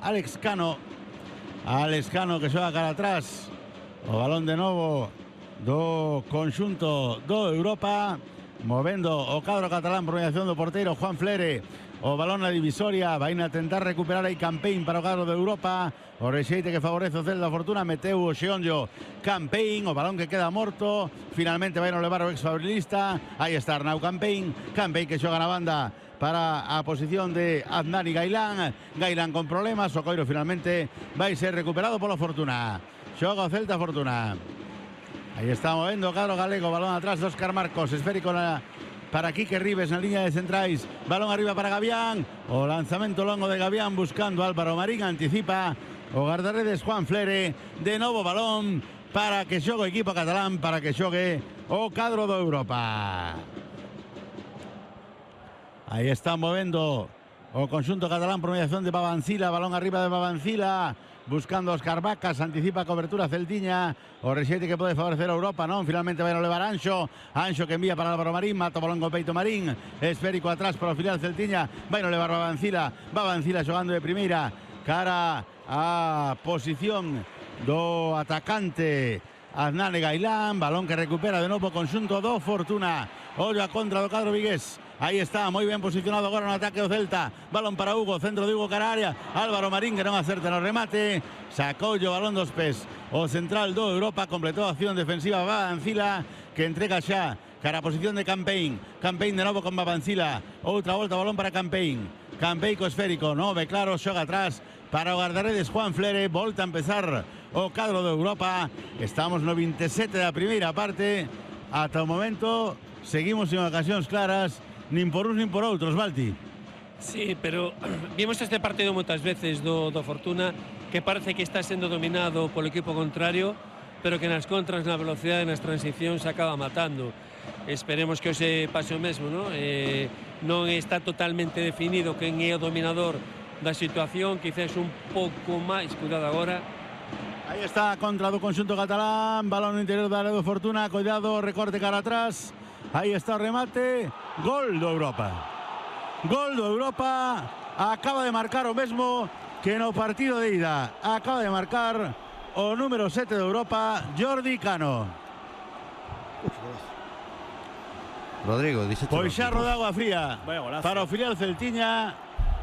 Alex Cano. Alex Cano que xoga cara atrás. O balón de novo do conxunto do Europa. Movendo o cadro catalán por mediación do porteiro Juan Flere. O balón na divisoria, vai a tentar recuperar aí Campain para o cadro de Europa. O rexeite que favorece o Celta Fortuna, meteu o Xeonllo Campain, o balón que queda morto. Finalmente vai a levar o ex-fabrilista. Aí está Arnau Campain. Campain que xoga na banda para a posición de Adnani Gailán. Gailán con problemas, o coiro finalmente vai ser recuperado polo Fortuna. Xoga o Celta Fortuna. Aí está movendo o cadro galego, balón atrás de Óscar Marcos, esférico para Quique Ribes na línea de centrais, balón arriba para Gavián, o lanzamento longo de Gavián buscando Álvaro Marín, anticipa o guardaredes Juan Flere, de novo balón para que xogue o equipo catalán, para que xogue o cadro do Europa. Aí está movendo o conxunto catalán por mediación de Babancila, balón arriba de Babancila, buscando a Óscar Vacas, anticipa a cobertura celtiña, o rexeite que pode favorecer a Europa, non, finalmente vai a levar Anxo, Anxo que envía para Álvaro Marín, mata o balón con peito Marín, esférico atrás para o filial celtiña, vai a levar Babancila, Babancila xogando de primeira, cara a posición do atacante Adnani Gailán, balón que recupera de novo o conxunto do Fortuna, ollo a contra do cadro vigués. Aí está, moi ben posicionado agora no ataque do Celta. Balón para Hugo, centro de Hugo cara a área. Álvaro Marín que non acerta no remate. Sacou o balón dos pés. O central do Europa completou a acción defensiva Babancila, que entrega xa cara a posición de Campain. Campain de novo con Babancila. Outra volta, balón para Campain. Campain co esférico, nove claro, xoga atrás para o guardaredes Juan Flere. Volta a empezar o cadro do Europa. Estamos no 27 da primeira parte. Ata o momento seguimos en ocasións claras. Nin por uns nin por outros, Balti. Sí, pero vimos este partido moitas veces do Fortuna, que parece que está sendo dominado polo equipo contrario, pero que nas contras, na velocidade, nas transicións se acaba matando. Esperemos que hoxe pase o mesmo, non? Non está totalmente definido quen é o dominador da situación, quizás un pouco máis, cuidado agora. Aí está a contra do conxunto catalán, balón no interior da área do Fortuna, cuidado, recorte cara atrás. Aí está o remate, gol do Europa. Gol do Europa, acaba de marcar o mesmo que no partido de ida. Acaba de marcar o número 7 de Europa, Jordi Cano. Rodrigo, dice pois xa roda agua fría para o filial celtiña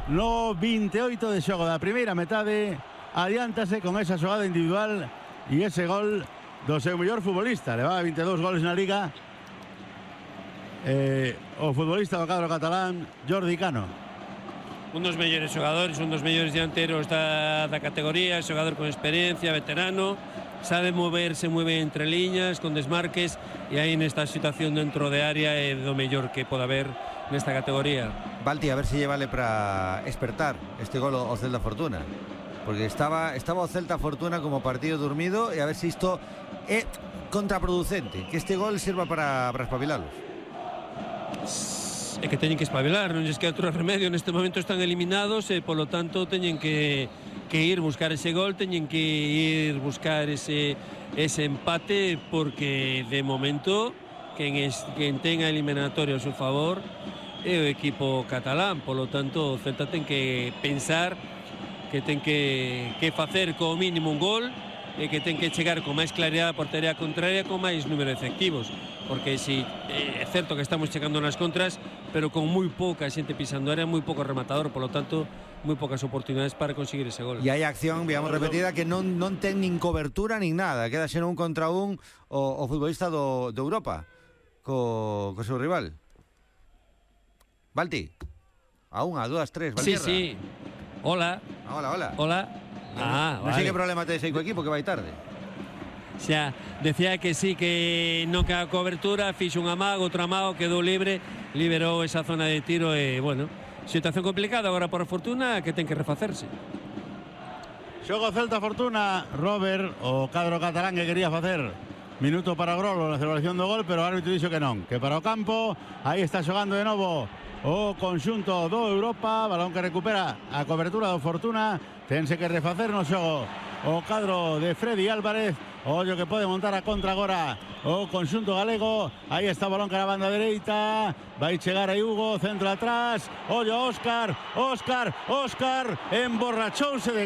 no 28 de xogo da primeira metade. Adiántase con esa xogada individual e ese gol do seu mellor futbolista. Levaba 22 goles na Liga. O futbolista do cadro catalán, Jordi Cano. Un dos mellores xogadores, un dos mellores dianteros da categoría, xogador con experiencia, veterano, sabe moverse moi ben entre liñas, con desmarques, e aí nesta situación dentro de área é do mellor que pode haber nesta categoría. Balti, a ver se llevale para despertar este gol o Celta Fortuna, porque estaba o Celta Fortuna como partido dormido, e a ver se isto é contraproducente, que este gol sirva para espabilalos. É que teñen que espabilar, non lles queda outro remedio. Neste momento están eliminados e polo tanto teñen que ir buscar ese gol, teñen que ir buscar ese empate, porque de momento quen ten a eliminatoria a seu favor é o equipo catalán. Polo tanto o Celta ten que pensar que ten que facer como mínimo un gol, e que ten que chegar con máis claridade a portería contraria, con máis número de efectivos, porque si é certo que estamos chegando nas contras, pero con moi pouca xente pisando área, moi pouco rematador, polo tanto moi poucas oportunidades para conseguir ese gol. E hai acción, digamos, repetida, que non ten nin cobertura nin nada, queda xeno un contra un o futbolista do Europa co seu rival. Balti, a unha, a dúas, tres, Valtierra. Sí. Hola. Hola. Non sei que problema tedes aí co equipo, que vai tarde. Xa, decía que sí, que non queda cobertura, fixo un amago, outro amago, quedou libre, liberou esa zona de tiro e, bueno, situación complicada agora por Fortuna, que ten que refacerse. Xogo Celta Fortuna, Robert, o cadro catalán que quería facer minuto para Grolo na celebración do gol, pero o árbitro dixo que non, que para o campo. Aí está xogando de novo o conxunto do Europa, balón que recupera a cobertura do Fortuna. Tense que refacer no xogo o cadro de Freddy Álvarez. Ollo que pode montar a contra agora o conxunto galego. Aí está o balón cara a banda dereita. Vai chegar aí Hugo, centro atrás. Ollo Óscar, emborrachouse de